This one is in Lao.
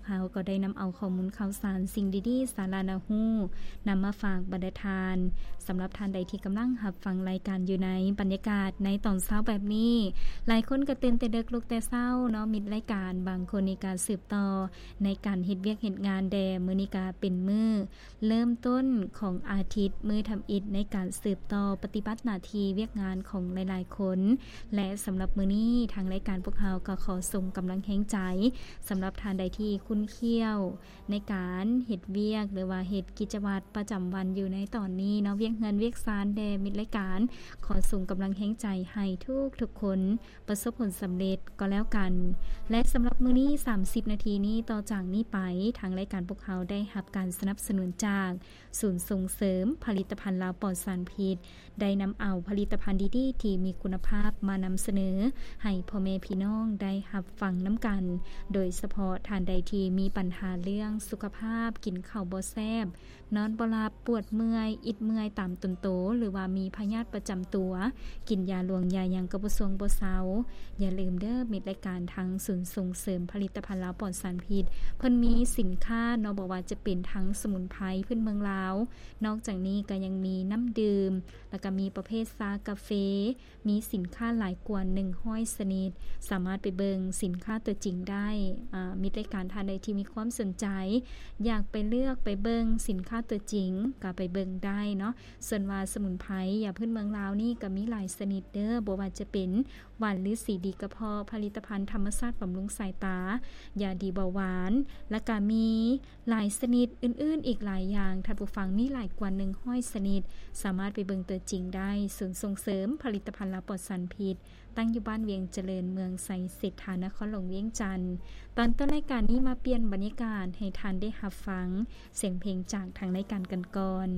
ວກເຮົາກໍໄດ້ນຳເອົາຂໍ້ມູນຂ່າວສານ, ສິ່ງດີໆ, ສາລະໜ້າຮູ້ ນຳມາຝາກບັນດາທ່ານ. ສຳລັບທ່ານໃດທີ່ກຳລັງຮັບຟັງລາຍການຢູ່ໃນບັນຍາກາດໃນຕອນເຊົ້າແບບນີ້, ຫຼາຍຄົນກໍຕື່ນແຕ່ເດິກລຸກແຕ່ເຊົ້າເນາະ, ມິດລາຍການບາງຄົນນີ້ກໍສືບຕໍ່ໃນການເຮັດວຽກເຮັດງານແດ່. ມື້ນີ້ກໍເປັນມື້ເລີ່ມຕົ້ນຂອງອາທິດ, ມື້ທຳອິດໃນການສືບຕໍ່ປະຕິບັດໜ້າທີ່ວຽກງານຂອງຫຼາຍໆຄົນ ແລະ ສຳລັບມື້ນີ້ ທາງລາຍການພວກເຮົາກໍຂໍສົ່ງກຳລັງແຮງໃຈ ສຳລັບທ່ານໃດທີ່ຂຸ້ນຂ້ຽວ ໃນການເຮັດວຽກ ຫຼືວ່າເຮັດກິດຈະວັດປະຈຳວັນຢູ່ໃນຕອນນີ້ເນາະ, ວຽກເຮືອນວຽກຊານແດ່. ມິດລາຍການຂໍສົ່ງກຳລັງແຮງໃຈໃຫ້ທຸກໆຄົນປະສົບຜົນສຳເລັດກໍແລ້ວກັນ. ແລະ ສຳລັບມື້ນີ້ ສາມສິບນາທີນີ້ ຕໍ່ຈາກນີ້ໄປ ທາງລາຍການພວກເຮົາໄດ້ຮັບການສະໜັບສະໜູນຈາກສູນສົ່ງເສີມຜະລິດຕະພັນລາວປອດສານພິດ, ໄດ້ນຳເອົາຜະລິດຕະພັນດີໆທີ່ມີຄຸນນະພາບມານຳສະເໜີໃຫ້ພໍ່ແມ່ພີ່ນ້ອງໄດ້ຮັບຟັງນຳກັນ, ໂດຍສະເພາະທ່ານໃດທີ່ມີບັນຫາເລື່ອງສຸຂະພາບ, ກິນເຂົ້າບໍ່ແຊບ, ນອນບໍ່ຫຼັບ, ປວດເມື່ອຍ, ອິດເມື່ອຍຕາມຕົນໂຕ ຫຼືວ່າມີພະຍາດປະຈຳຕົວ, ກິນຢາຫຼວງຢາຫຍັງກໍບໍ່ຊ່ວງບໍ່ເຊົາ, ຢ່າລືມເດີ ມິດລາຍການ, ທາງສູນສົ່ງເສີມຜະລິດຕະພັນລາວປອດສານພິດ ເພິ່ນມີສິນຄ້າເນາະ, ບໍ່ວ່າຈະເປັນທັງສະໝຸນໄພພື້ນເມືອງລາວ, ນອກຈາກນີ້ກໍຍັງມີນ້ຳດື່ມ, ແລ້ວກໍມີປະເພດຊາກາເຟ, ມີສິນຄ້າຫຼາຍກວ່າໜຶ່ງຮ້ອຍຊະນິດ, ສາມາດໄປເບິ່ງສິນຄ້າຕົວຈິງໄດ້. ອາ ມິດລາຍການທ່ານໃດທີ່ມີຄວາມສົນໃຈ ຢາກໄປເລືອກໄປເບິ່ງສິນຄ້າຕົວຈິງ ກໍໄປເບິ່ງໄດ້ເນາະ. ສ່ວນວ່າສະໝຸນໄພ ຢາພື້ນເມືອງລາວນີ້ກໍມີຫຼາຍຊະນິດເດີ, ບໍ່ວ່າຈະເປັນຫວ່ານລືສີດີກະເພາະ, ຜະລິດຕະພັນທຳມະຊາດບຳລຸງສາຍຕາ, ຢາດີເບົາຫວານ, ແລ້ວກໍມີ ຫຼາຍຊະນິດອື່ນໆອີກຫຼາຍຢ່າງ, ທ່ານຜູ້ຟັງ, ມີຫຼາຍກວ່າໜຶ່ງຮ້ອຍຊະນິດ, ສາມາດໄປເບິ່ງຕົວຈິງໄດ້. ສູນສົ່ງເສີມຜະລິດຕະພັນລາວປອດສານພິດ ຕັ້ງຢູ່ບ້ານວຽງຈະເລີນ, ເມືອງໄຊເສດຖາ, ນະຄອນຫຼວງວຽງຈັນ. ຕອນຕົ້ນລາຍການນີ້ ມາປ່ຽນບັນຍາກາດໃຫ້ທ່ານໄດ້ຮັບຟັງສຽງເພງຈາກທາງລາຍການກັນກ່ອນ.